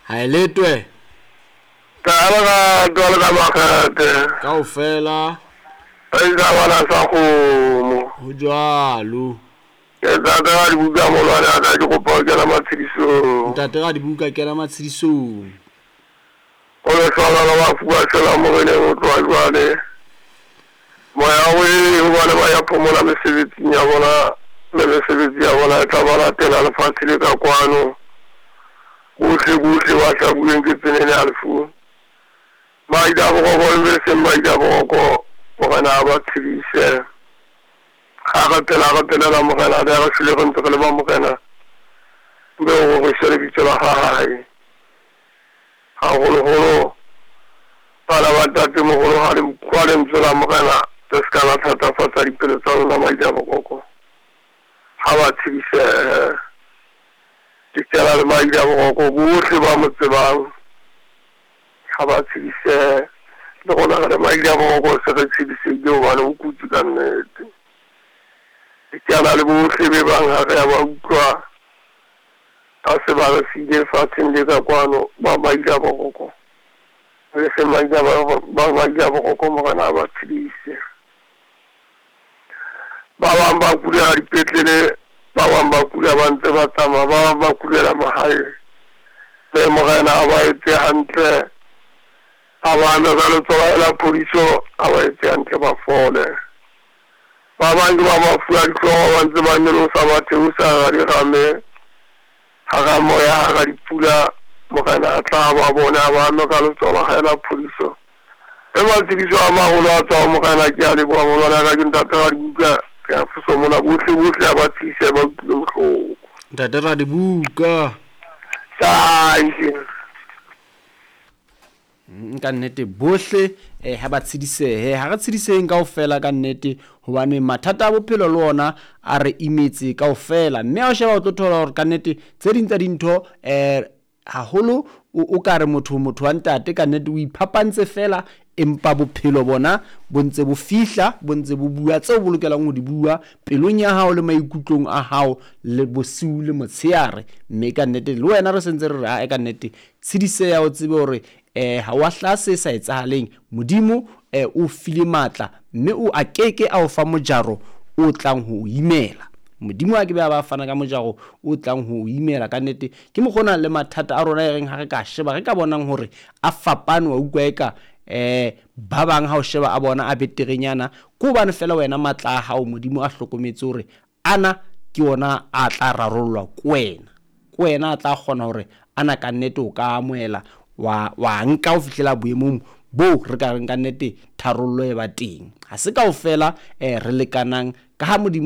Ha e letwe. Ka lerato le ka makgethe. Kaofela. Re ja bana sa kgomo. Ho jwalo. Ke ntate Radibuka molwane wa ka ke kopa ho kena matshedisong. Ntate Radibuka kena matshedisong. Ho lehlohonolo bafu ba shwelang Moreneng ho tloha jwale. Moya o ee ho bana ba ya phomola mesebetsing ya bona, mme mesebetsi ya bona e tla ba latela lefatshe le ka kwano. Bohle bohle ba hlabuweng ke tsenene ya lefu. Maida boroko le be seng maida boroko, Morena a ba tshedise. Ha re phela re phelela Morena, le ha re shwele re ntse re le ba Morena, mme o roriswe lebitso la hae. Haholoholo bana ba ntatemoholo ha le utlwa lentswe la Morena, le se ka la thatafatsa dipelo tsa lona maida boroko. Ha ba tshedisehe. Ke kena le maida boroko bohle ba mo tsebang ha ba tshedisehe. Le rona re le maida boroko se re tshedisehile hobane o kutse ka nnete. Ke kena le bohle be bang ha re a ba utlwa ba se ba re siile lefatsheng le ka kwano ba maida boroko. Le se maida ba maida boroko Morena a ba tshedise. Ba bang ba kulela dipetlele, ba bang ba kula ba ntse ba tsamaya, ba bang ba kulela mahaeng. Mme Morena a ba etse hantle, a ba ame ka letsoho la phodiso, a ba etse hantle ba fole. Ba bang ke ba mafu a dihlooho ba ntse ba nyolosa ba theosa hara dirame, hara moya, hara dipula. Morena a tla ba bone, a ba ame ka letsoho la hae la phodiso. E matshediso a maholo a tswa ho Morena, ke a leboha molwana ka ke ntate Radibuka, ke a foso mona bohle bohle a ba tshedise ba utlwile bohloko. Ntate Radibuka. Thank you. Ka nnete bohle ha ba tshedisehe, ha re tshediseheng kaofela ka nnete, hobane mathata a bophelo le ona a re imetse kaofela. Mme ha o sheba o tlo thola hore ka nnete tse ding tsa dintho haholo o ka re motho motho wa ntate ka nnete o iphapantse fela, empa bophelo bona bo ntse bo fihla, bo ntse bo bua tseo bo lokelang ho di bua pelong ya hao le maikutlong a hao le bosiu le motsheare. Mme ka nnete le wena re sentse re re ae ka nnete tshediseha, o tsebe hore ha wa hlaha se sa etsahaleng. Modimo o file matla, mme o a keke a o fa mojaro o tlang ho o imela. Modimo a ke be a ba fana ka mojaro o tlang ho o imela. Ka nnete ke mokgona le mathata a rona e reng ha re ka sheba re ka bonang hore a fapane, wa utlwa eka ba bang ha o sheba a bona a beterenyana, ke hobane fela wena matla a hao Modimo a hlokometse hore ana ke ona a tla rarollwa ke wena. Ke wena a tla kgona hore ana ka nnete o ka amohela wa nka ho fihlela boemong boo re ka reng ka nnete tharollo e ba teng. Ha se kaofela re lekanang ka ha Modimo